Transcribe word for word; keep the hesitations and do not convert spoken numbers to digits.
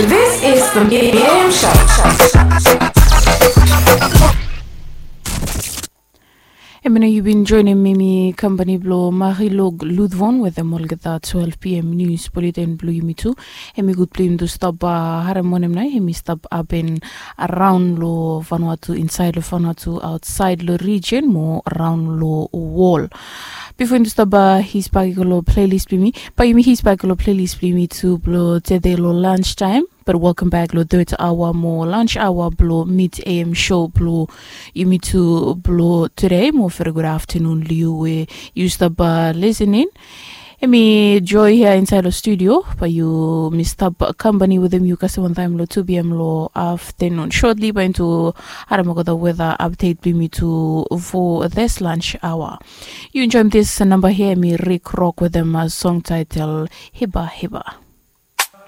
This is the Miriam Show. Hemia nao yu bin joenem hemi kampani blong Marilog Ludvon wetem olgeta twelve p.m. nius buleten blong yumi tu. Hemi gud blong yumi tu stap harem wanem nao hemi stap hapen araon long Vanuatu, insaed long Vanuatu, aotsaed long rijen mo araon long wol. Bifo yumi tu stap hisbak i go long plelis blong yumi, bae yumi hisbak i go long plelis blong yumi tu blong tede long lanstaem. Bat welkam bak long third aoa mo lunch aoa blong Mid A M show blong yumi tu blong tede. Mo veri gud aftanun long yu we yu stap lisening. Hemi Joy hia insaed long studio, bae yumi stap kampani wetem yu kasem wantaem long two p.m. long aftanun. Sotli bae yumi tu harem olgeta weta apdet blong yumi tu fo this lunch aoa. Yu enjoem this namba hia, hemi Rick Rock wetem song taetel Hiba Hiba.